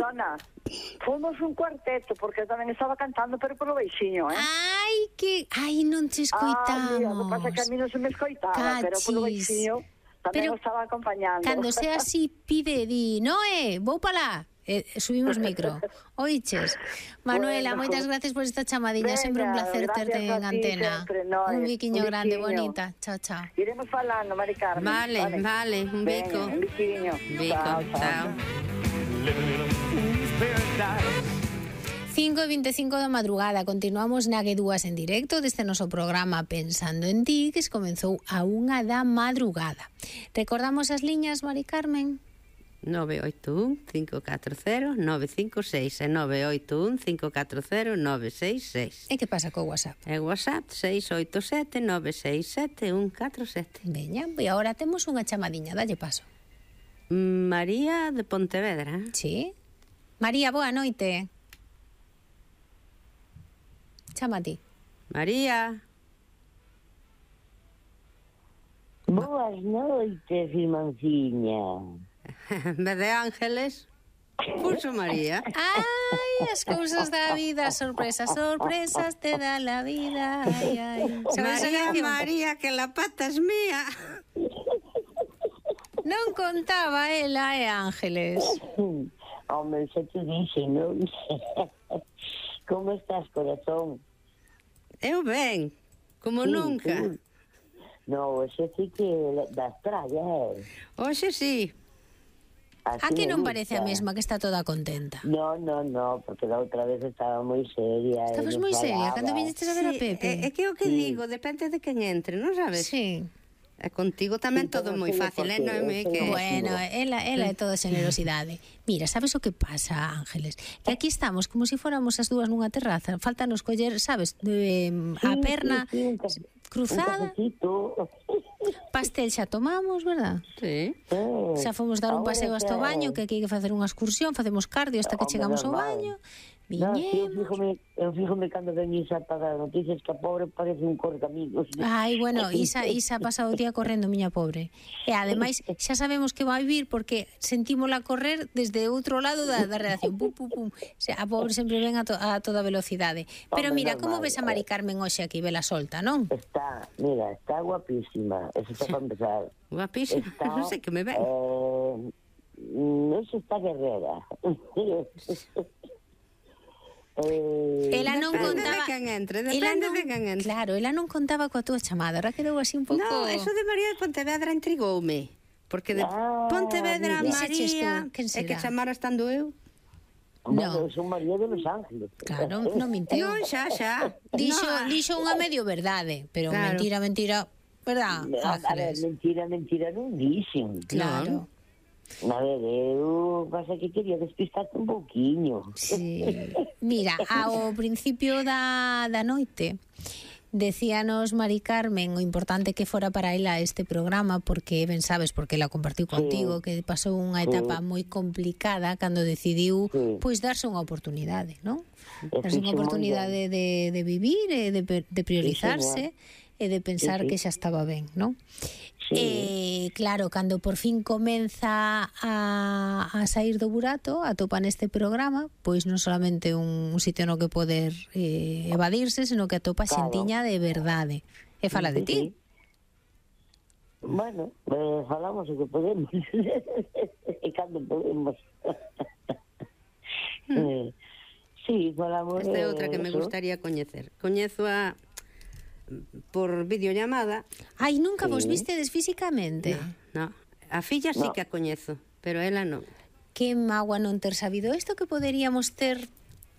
perdona, fomos un cuarteto, porque eu tamén estaba cantando, pero polo beixiño, Ai, non te escoitamos. Mira, o que pasa é que a mí non se me escoitaba, pero polo beixiño tamén o estaba acompañando. Cando sea así, pide, di, Noé, vou pa lá. Subimos micro. Oiches, Manuela, Bueno, moitas gracias por esta chamadinha. Venga, Sempre un placer terte en gracias a ti antena. sempre, Noé. Un biquiño Un grande, biquiño. bonita. Chao, chao. Iremos falando, Mari Carmen. Vale, un bico. Venga, un biquiño. Bico, chao. 5:25 da madrugada. Continuamos na G2 en directo deste noso programa Pensando en Ti, que se comenzou a 1 da madrugada. Recordamos as liñas, Mari Carmen? 981-540-956 e 981-540-966. E que pasa co WhatsApp? E WhatsApp 687-967-147. Veña, e agora temos unha chamadiña, dalle paso. María de Pontevedra. Sí? María, boa noite. Chama a ti. María. Boas noites, irmãnciña. En vez de Ángeles, puso María. Ai, as cousas da vida, sorpresas, sorpresas te da la vida. Ai, ai. María, que la pata es mía. Non contaba ela Ángeles. Hombre, xa te dixen, non? Como estás, corazón? Eu ben, como Sí, nunca. sí. No, xe sí que das trallas, Oxe sí. Así A que me non gusta. parece a mesma que está toda contenta? No, porque la outra vez estaba moi seria. Estabas non moi seria falaba. cando viñestes a ver a Pepe. É que o que digo, depende de quen entre, non sabes? Sí. E contigo tamén Sí, todo pero moi sí, fácil, porque non é eu que... sei- Bueno, ela é toda generosidade. Mira, sabes o que pasa, Ángeles? Que aquí estamos como se fóramos as dúas nunha terraza. Faltanos coller, sabes, a perna un cruzada. cafecito. Pastel xa tomamos, verdad? Sí. Xa fomos dar un Ahora paseo hasta o xa- baño, que aquí hai que facer unha excursión, facemos cardio hasta que Home, chegamos ao normal. baño. No, sí, Viñemos. eu fíjome cando venís a pagar noticias que a pobre parece un correcaminos. Ai, bueno, Isa ha pasado o día correndo, miña pobre. E ademais, xa sabemos que vai vir porque sentímola correr desde outro lado da redacción. Pum, pum, pum. O sea, a pobre sempre ven a toda velocidade. Pero Hombre, mira, como normal, ves a Mari Carmen hoxe aquí, vela solta, non? Está guapísima. Eso está para empezar. Guapísima, non sei que me ven. No se está guerrera. Ela non Depende contaba... de quen entre, ela depende non- de quen entre. Claro, ela non contaba coa túa chamada, ahora quedou así un pouco... No, eso de María de Pontevedra intrigoume. Porque de Pontevedra a mira. Dixeches María tú, quen é que será? chamara estando eu. Bueno, son María de Los Ángeles. Claro, non minteu. Non, xa. Dixo unha medio verdade, pero Claro. mentira, verdad, A ver, Ángeles? mentira non dixen. Claro. A ver, eu pasa que quería despistarte un pouquiño. Sí. Mira, ao principio da noite decíanos Mari Carmen o importante que fora para ela este programa porque ben sabes, porque ela compartiu contigo que pasou unha etapa moi complicada cando decidiu pois darse unha oportunidade, non? Darse unha oportunidade de vivir e de priorizarse e de pensar que xa estaba ben, non? Claro, cando por fin comeza a sair do burato, atopa neste programa, pois non solamente un sitio no que poder evadirse, senón que atopa xentiña de verdade. E fala de ti. Bueno, falamos o que podemos. E cando podemos. Sí, falamos. Esta é outra que me gustaría coñecer. Coñezo a por videollamada. Ai, nunca vos vistedes físicamente? No. A filla sí que a coñezo, pero ela non. Que magua non ter sabido isto, que poderíamos ter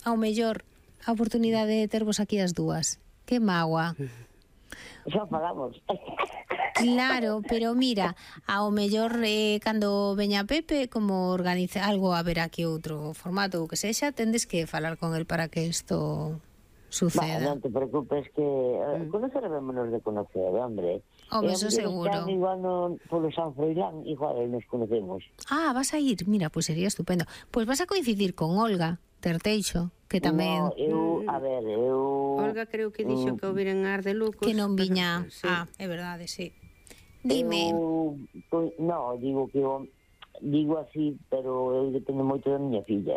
ao mellor a oportunidade de tervos aquí as dúas. Que magua. Xa falamos. Claro, pero mira, ao mellor cando veña Pepe, como organiza algo, a ver aquí outro formato ou que sexa, tendes que falar con el para que isto suceda. Non te preocupes que conoceremos de conocer, hombre. Home, eso seguro. Igual polo San Froilán, igual nos conocemos. Ah, vas a ir, mira, pois sería estupendo. Pois vas a coincidir con Olga Terteixo, que tamén... No, eu... Olga creo que dixo que houve en Ar de Lucos. Que non viña... Sí. Ah, é verdade, sí. Dime... Digo así, pero eu dependo moito da miña filla.